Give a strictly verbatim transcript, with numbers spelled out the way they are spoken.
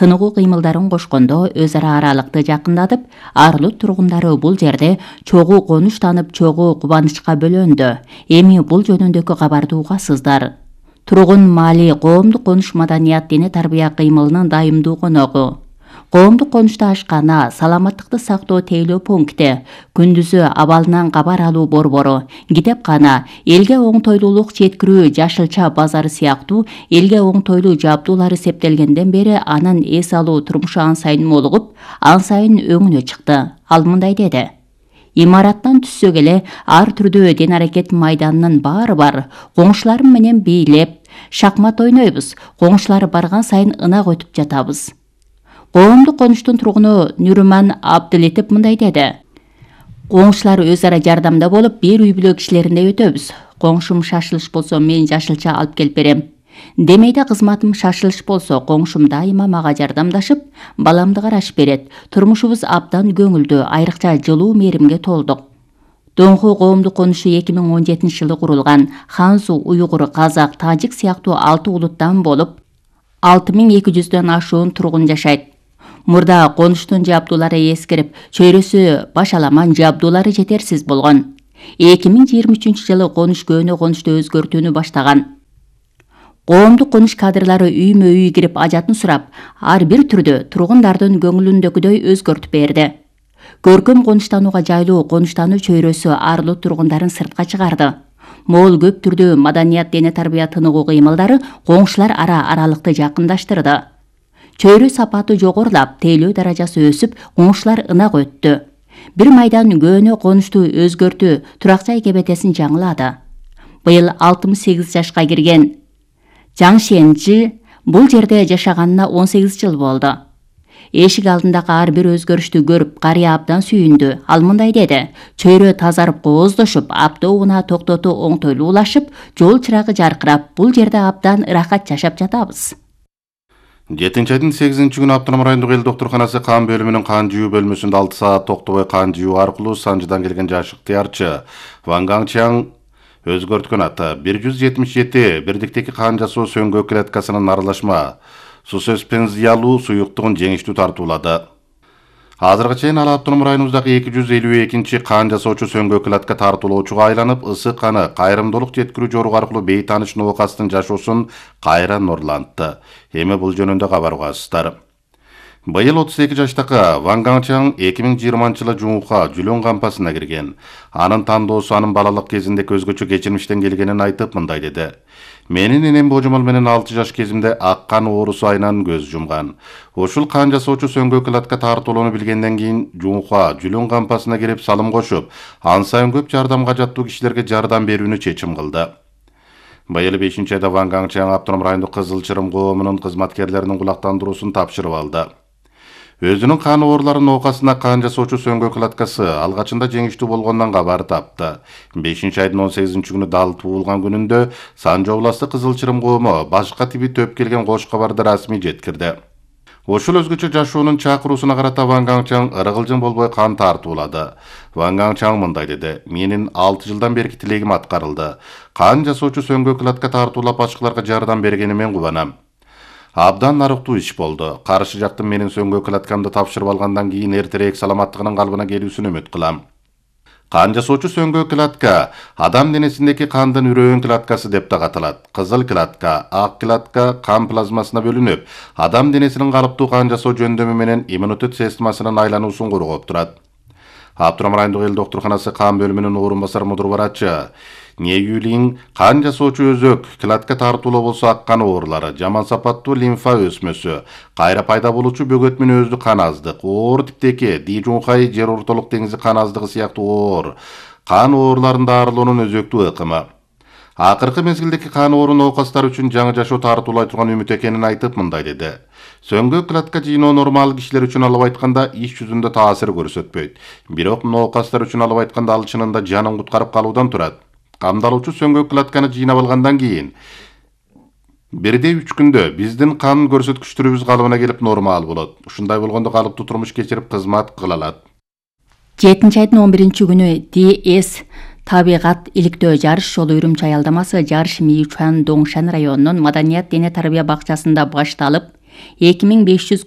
тыныгуу кыймылдарын кошкондо өз ара аралыкты жакындатып, Арлут тургундары бул жерде чогуу конуш танып, чогуу кубанычка бөлөндү. Эми бул жөнүндөгү кабарды угасыздар. Тургун маали коомдук конуш маданият дине тарбия кыймылынын дайымдуу коногу. Коомдук конушта ашкана, саламаттыкты сактоо тейлөө пункти, күндүзү абалынан кабар алуу борбору, китепкана, элге оңтойлуулук жеткирүү жашылча базары сыяктуу элге оңтойлуу жабдуулар эсептелгенден бери анын эс алуу турмушу ан сайын молугуп, ан сайын өңүнө чыкты. Ал мындай деди: имараттан түссөк эле ар түрдүү ден аракет майданынын баары бар. Коңшуларым менен бийлеп, шахмат ойнойбуз. Коңшулар барган сайын ынак өтүп жатабыз. Коомдук конуштун тургуну Нүрман Абдылетип мындай деди: коңшулар өз ара жардамда болуп, бир үй бүлө кишилериндей өтөбүз. Коңшум шашылыш болсо, мен жашылча алып келип берем. Демейде кызматым шашылыш болсо, коңшум дайыма мага жардамдашып, баламды карашып берет. Турмушубуз абдан көңүлдүү, айрыкча жылуу мээримге толдук. Доңху коомдук конушу эки миң он жетинчи жылы курулган. Ханзу, уйгур, казак, тажик сыяктуу алты улуттан болуп, алты миң эки жүздөн ашуун тургун жашайт. Мурда конуштун жабдуулары эскирип, чөйрөсү башаламан, жабдуулары жетерсиз болгон. эки миң жыйырма үчүнчү жылы конуш көөнө конушту өзгөртүүнү баштаган. Коомдук конуш кадрылары үймө үй кирип ажатын сурап, ар бир түрдө тургундардын көңүлүндөгүдөй өзгөртүп берди. Көркөм конуштанууга жайлуу конуштануу чөйрөсү Арлут тургундарын сыртка чыгарды. Моол көп түрдүү маданият дене тарбия тыныгуу кыймылдары коңшулар ара аралыкты жакындаштырды. Чөйрө сапаты жогорулап, тейлөө даражасы өсүп, коңшулар ынак өттү. Бир майдан көөнө конушту өзгөртүү, турак жай кебетесин жаңылады. Быйыл алтымыш сегиз жашка кирген Жаң Шенжи бул жерде жашаганына он сегиз жыл болду. Эшик алдындагы ар бир өзгөрүштү көрүп, карыя абдан сүйүндү. Ал мындай деди: чөйрө тазарып, кооздошуп, автоунаа токтотуу оңтойлуулашып, жол чырагы жаркырап, бул жерде абдан ырахат жашап жатабыз. жетинчи айдын сегизинчи күнү Автоном райондук эл доктурканасы кан бөлүмүнүн кан жүйүү бөлмөсүндө алты саат токтобой кан жүйүү аркылуу Санжыдан келген жаш ыктыярчы Ван Гаңчаң өзгөрткөн аты бир жүз жетимиш жети бирдиктеги кан жасоо сөңгө клеткасынын аралашма суспензиялуу суюктугун жеңиштүү тартуулады. Азыркыга чейин ал Автоном районубуздагы эки жүз элүү экинчи кан жасоочу сөңгө клетка тартуулоочуга айланып, ысык каны кайрымдуулук жеткирүү жору аркылуу бейтааныш оокастын жашоосун кайра нурлантты. Эми бул жөнүндө кабар угасыздар. Быйыл отуз эки жаштагы Ван Гаңчаң эки миң жыйырманчы жылы жуунга Жүлөн кампасына кирген. Анын тандоосу анын балалык кезинде өзгөчө кечирмиштен келгенин айтып мындай деди: менин энем божомол менен алты жаш кезимде ак кан оорусу айынан көз жумган. Ушул кан жасоочу сөңгө клетка тартуулоону билгенден кийин жуунга Жүлөн кампасына кирип салым кошуп, ан сайын көп жардамга жаттуу кишилерге жардам берүүнү чечим кылды. Быйыл бешинчи айда Ван Гаңчаң Автоном райондук Кызыл Чырым коомунун кызматкерлеринин кулактандыруусун тапшырып алды. Өзүнүн кан ооруларын оокасына кан жасоочу сөңгө клеткасы алгачында жеңиштүү болгондон кабар тапты. бешинчи айдын он сегизинчи күнү дал туулган күнүндө Санжы областы Кызыл Чырым коому башка тиби төп келген кош кабарды расмий жеткирди. Ошол өзгөчө жашоонун чакыруусуна карата Ван Гаңчаң ыргылжың болбой кан тартуулады. Ван Гаңчаң мындай деди: менин алты жылдан берки тилегим аткарылды. Кан жасоочу сөңгө клетка тартуулап башкаларга жардам бергенимен кубанам. Абдан нарыктуу иш болду. Каршы жактын менин сөңгө клеткамды тапшырып алгандан кийин эртерээк саламаттыгынын калыбына келүүсүн үмүт кылам. Кан жасоочу сөңгө клетка адам денесиндеги кандын үрөөн клеткасы деп да аталат. Кызыл клетка, ак клетка кан плазмасына бөлүнүп, адам денесинин калыптуу кан жасоо жөндөмү менен иммунитет системасынын айлануусун коргоп турат. Автоном райондук эл доктурканасы кан бөлүмүнүн орун басар мудур барачы Неюлин кан жасоочу өзөк клетка тартуулоо болсо ак кан оорулары, жаман сапаттуу лимфа өсмөсү, кайра пайда болуучу бөгөт менен өздүк кан аздык, оор типтеги, Ди-Жунхай жер ортолук деңизи кан аздыгы сыяктуу оор кан ооруларын дарылоонун өзөктүү ыкымы. Акыркы мезгилдеги кан оорун оокастар үчүн жаңы жашоо тартуулай турган үмүт экенин айтып мындай деди: сөңгө клетка жыйноо нормал кишилер үчүн алып айтканда иш жүзүндө таасир көрсөтпөйт. Бирок оокастар үчүн алып айтканда ал чынында жанын куткарып калуудан турат. Камдалуучу сөңгө клетканы жыйнап алгандан кийин бирде үч күндө биздин кан көрсөткүчтөрүбүз калыбына келип нормал болот. Ушундай болгондо калыптуу турмуш кечирип кызмат кыла алат. жетинчи айдын он биринчи күнү Ди Эс табигат иликтөө жарыш жолу Үрүмчү аялдамасы Жарыш Мичуан Доңшан районунун Маданият дене тарбия бакчасында башталып, эки миң беш жүз